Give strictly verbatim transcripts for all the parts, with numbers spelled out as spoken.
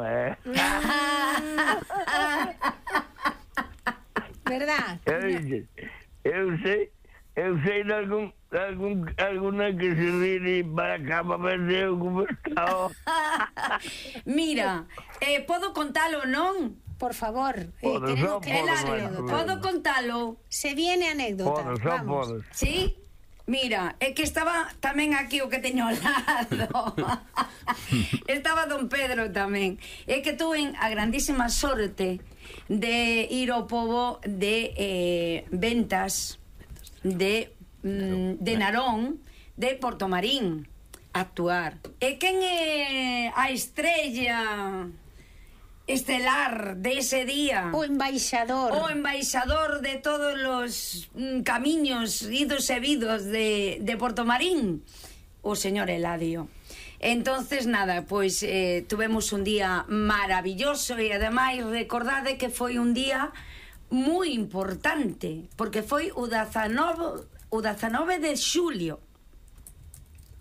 eh? Verdad? Eu, eu sei, eu sei de algún, algún, alguna que se ríe para cá para ver se eu como está. Mira, eh, podo contalo, non? Por favor, eh, Podo, queremos só que podo, la bueno, anécdota. Podo contalo? Se viene anécdota. Podes, só Vamos. podes. Sí? Mira, é que estaba tamén aquí o que teño ao lado. Estaba don Pedro tamén. É que tuve a grandísima sorte de ir ao pobo de eh, ventas de, mm, de Narón, de Portomarín, a actuar. E quen é a estrella estelar de ese día? O embaixador. O embaixador de todos los mm, camiños idos e vidos de, de Portomarín, o señor Eladio. Entonces, nada, pois eh, tuvemos un día maravilloso e ademais recordade que foi un día moi importante, porque foi o dezanove, o dezanove de xulio.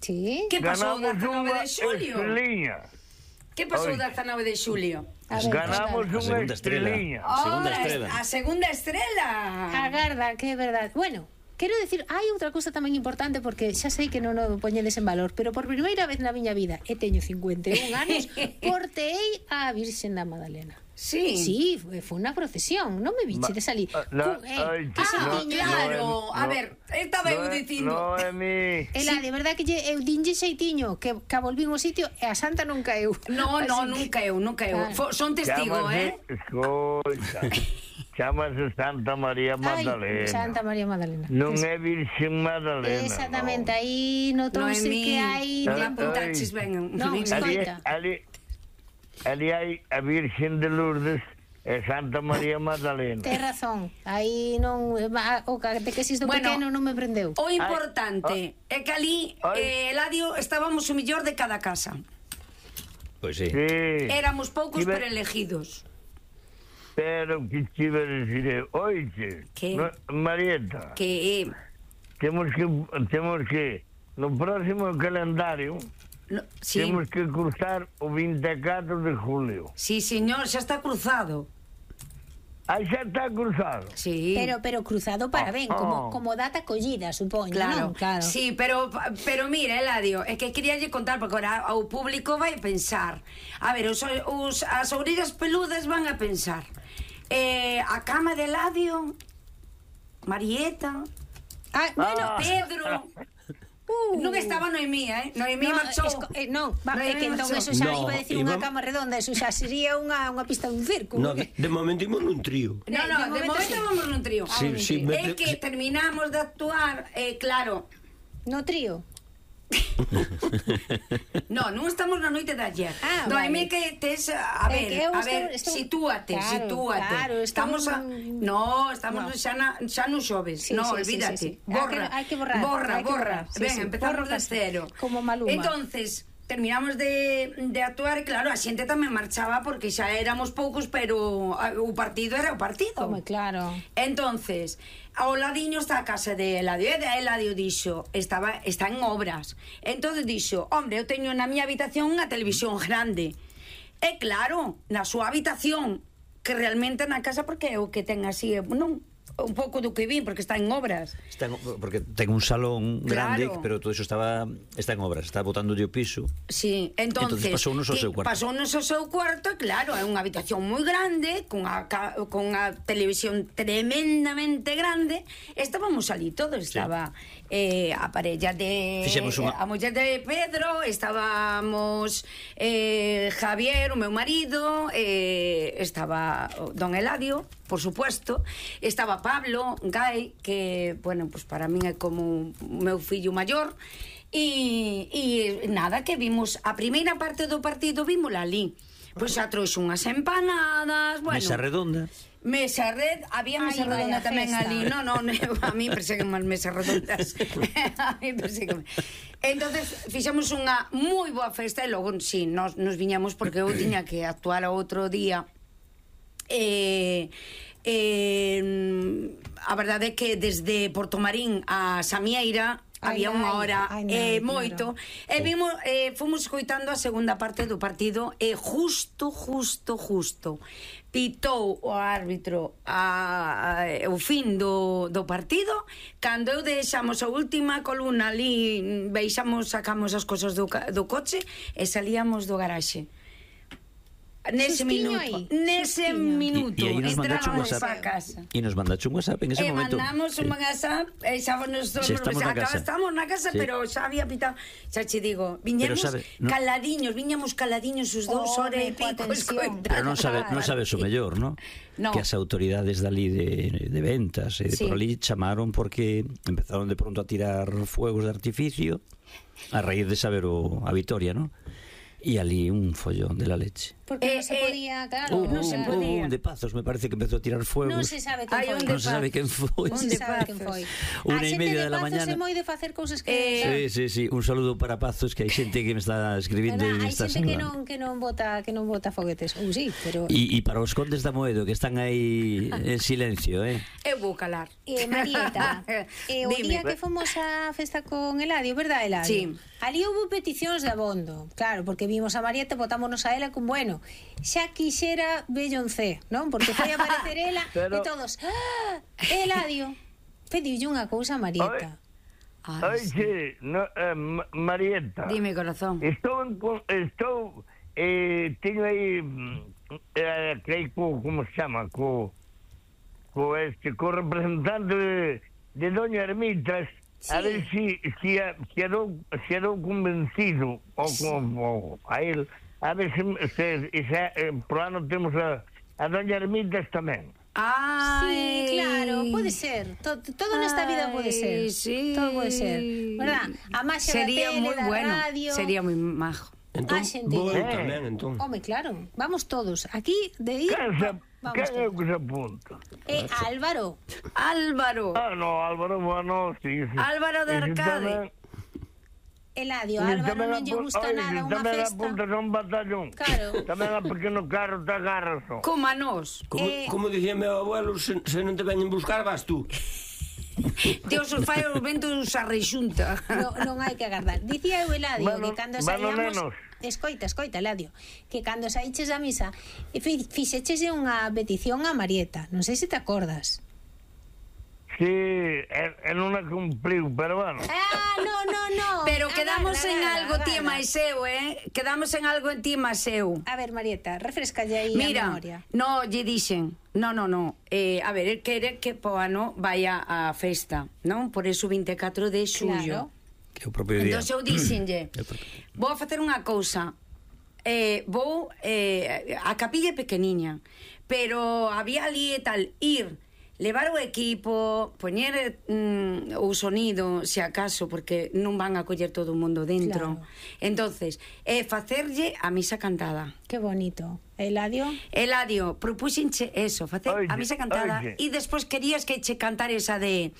Sí. Que pasou o Ganamos dezanove unha de xulio? estrelinha. Que pasou o Oi. dezanove de xulio? A ver, Ganamos Carla. A unha segunda estrela. estrelinha. A segunda Oh, estrela. A segunda estrela. Agarda, que é verdade. Bueno, quero decir, hai outra cousa tamén importante porque xa sei que non o poñedes en valor, pero por primeira vez na miña vida, e teño cincuenta e un anos, porteei a Virxen da Madalena. Sí. Sí, foi foi unha procesión, non me vichedes ali. Ah, no, Cu- eh, ai, que Ah, sentiño. claro. no, A no, ver, estaba eu no, dicindo. No, é mi... Ela, de verdade que lle, eu dinlle xeitiño que, que volvín ao sitio e a santa non caeu. No, Así no, que- nunca eu, nunca eu. Ah. Fo- Son testigo, eh? Escoita, chámase Santa María Ai, Magdalena. Santa María Magdalena. Non é Virxen Magdalena. Exactamente, no. aí notouse Noemí, que hai... non Ai. apuntaches ben. Non, Noemí. Ali, escoita. ali, ali hai a Virxen de Lourdes e Santa María Magdalena. Tes razón, aí non o catequesis do Bueno, pequeno non me prendeu. O importante é que ali Ai. eh, Eladio estábamos o millor de cada casa. Pois sí. Sí, Éramos poucos Ibe- pero elegidos. pero que te iba a decir, oiche, Que? no, Marieta, Que temos que, temos que, no próximo calendario, no, sí, temos que cruzar o vinte e catro de julio. sí, señor, xa está cruzado. Aí xa está cruzado. Sí. Pero pero cruzado para ben, Oh, como oh. como data collida, supoño, Claro, non? Claro. sí, pero pero mira, Eladio, é que queríalle contar porque ahora o público vai pensar. A ver, os, os as orillas peludas van a pensar. Eh, a cama de Eladio, Marieta, Ah, bueno, Ah. Pedro. Uh. Non estaba Noemí, eh? Noemí No, marchou. esco, eh, non, va, é Noemí que entón marchou. eso xa No, iba a decir unha íbamos- cama redonda, eso xa sería unha unha pista dun circo. No, de, de momento imos nun trío. No, no, de momento sí. vamos nun trío. Sí, sí, me- É que terminamos de actuar, eh, claro. No trío. No, non estamos na noite de ayer. Ah, Noemí, vale. que tes, a É ver, que eu a estou- ver, estou- sitúate, Claro, sitúate. claro, estou estamos a... en- No, estamos No. xa, na, xa no xoves. Sí, no, sí, sí, olvídate. sí, sí. Borra. Hai que- hai que borrar, Borra, hai que borra. borrar, sí, Ven, sí. empezamos Borra de cero. como Maluma. Entonces, terminamos de, de actuar e claro, a xente tamén marchaba porque xa éramos poucos, pero ah, o partido era o partido. Home, claro. Entonces, ao ladiño está a casa de Eladio, e de Eladio dixo, estaba, está en obras. Entonces dixo, hombre, eu teño na miña habitación unha televisión grande. E claro, na súa habitación, que realmente na casa, porque é o que ten así, non, un pouco do que vi, porque está en obras. Está en, porque ten un salón grande, Claro. pero todo eso estaba está en obras, está botando o piso. Sí, entonces, Entonces pasounos ao seu cuarto. Pasounos ao seu cuarto, claro, é unha habitación moi grande, con a, ca- con a televisión tremendamente grande. Estábamos ali todos, estaba eh, a parella de Fixemos unha- a muller de Pedro, estábamos eh, Javier, o meu marido, eh, estaba o don Eladio, por supuesto, estaba Pablo Gai, que, bueno, pues para min é como o meu fillo maior. E, e nada, que vimos a primeira parte do partido, vímola ali. Pois xa trouxe unhas empanadas, bueno. Mesa redonda. Mesa red, había mesa Ai, redonda vaya tamén festa. ali. No, no, a mí perseguen mal mesas redondas. A mí perseguen. Entonces, fixamos unha moi boa festa e logo, sí, nos, nos viñamos porque eu tiña que actuar a outro día. Eh, eh, a verdade é que desde Portomarín a Samieira había Ai, unha nai, hora ai, eh, nai, moito, claro. e vimos, eh, fomos escoitando a segunda parte do partido, e justo, justo, justo, pitou o árbitro a, a, o fin do, do partido, cando eu deixamos a última columna ali, veixamos, sacamos as cosas do, ca- do coche e salíamos do garaxe. Nese Sustiño minuto, aí, nese sustiño. minuto, E, e aí nos mandaste un entrábamos WhatsApp. pa casa. E nos mandaste un WhatsApp en ese E momento. mandamos un Sí. WhatsApp e xa nos Sí, estamos na casa. estamos na casa, Sí. pero xa había pitado. Xa che digo, viñemos Pero sabe, no- caladiños, viñamos caladiños os dous Oh, horas e coa pico tensión. escoitando. Pero non sabe, non sabes o mellor, ¿no? No. Que as autoridades dali de, de ventas e de Sí. por ali chamaron porque empezaron de pronto a tirar fuegos de artificio a raíz de saber o, a Vitoria, ¿no? E ali un follón de la leche. Porque Eh, non se eh, podía, claro. no o se sea, podía. Un de Pazos me parece que empezó a tirar fuegos. Non se sabe quen Hai foi. un Non se sabe quen foi. Non se de sabe quen Pazos. foi. Una A e xente media de de la Pazos mañana. é moi de facer cousas que... Eh, Sí, sí, sí, un saludo para Pazos, que hai xente que me está escribindo Verdad, e me hai está xente que saludando. non que non bota que non bota foguetes. Ou sí, pero E, e para os condes da Moedo que están aí en silencio, eh? Eu vou calar. Eh, Marieta, eh, o Dime. día que fomos á festa con Eladio, verdad, Eladio? Sí. Ali houve peticións de abondo, claro, porque vimos a Marieta, botámonos a ela con, bueno, xa quixera Belloncé, non? Porque foi a aparecer ela Pero- e todos, ah, Eladio, pediulle unha cousa a Marieta. Ai, sí. Oye, no, eh, Ma- Marieta. Dime, corazón. Estou, en, con- estou, eh, teño aí, mm, eh, crei co, como se chama, co, co este, co representante de, de Doña Ermitas, a Sí. ver si, si, a- si, adou, si adou convencido, o, Sí. como, a él, a ver se, se, se eh, por ano temos a, a Doña Ermitas tamén. Ai. Sí, claro, pode ser. To- todo nesta vida pode ser. Ai, sí. Todo pode ser. ¿Verdad? A máxia da Sería tele, moi da bueno. radio. Sería moi majo. Entón, Ah, xente. vou eu Eh. tamén, entón. Home, claro, vamos todos. Aquí de ir, Quen se, vamos quen é o todos. que se apunta? E Álvaro, Álvaro. Ah, no, Álvaro, bueno, sí, sí. Álvaro de Ese Arcade. tamén- Eladio, ese Álvaro tamén non lle apu- gusta oye, nada ese unha tamén festa. apunta a un batallón. Claro. Tamén a pequeno carro te agarras. ó. Como a nós. Como, Eh. como dicía meu abuelo, se, se non te veñen buscar, vas tú. Dios os fai os ventos a rexunta. No, non hai que agardar. Dicía eu, Eladio, Bueno, que cando bueno, saíamos... nenos. Escoita, escoita, Eladio, que cando saíches a misa e fi- fixeches unha petición a Marieta. Non sei se te acordas. Sí, e, e non a cumpliu, pero bueno. Ah, no, no, no. Pero quedamos Agarda, en agarda, algo ti e agarda. máis eu, eh? Quedamos en algo en ti e máis eu. A ver, Marieta, refrescalle aí a Mira, memoria. no, lle dixen. No, no, no. Eh, a ver, el quere que po ano vaya á festa, non? Por eso vinte e catro de xullo. Claro. Que é o propio día. Entón eu dixenlle, É o propio. vou a facer unha cousa. Eh, vou eh, a capilla é pequeniña, pero había ali e tal ir, levar o equipo, poñer mm, o sonido, se acaso, porque non van a coller todo o mundo dentro. Claro. Entonces, eh, facerlle a misa cantada. Qué bonito. Eladio? Eladio, propuxenche eso, facer Oye, a misa cantada oye. e despois querías que che cantar esa de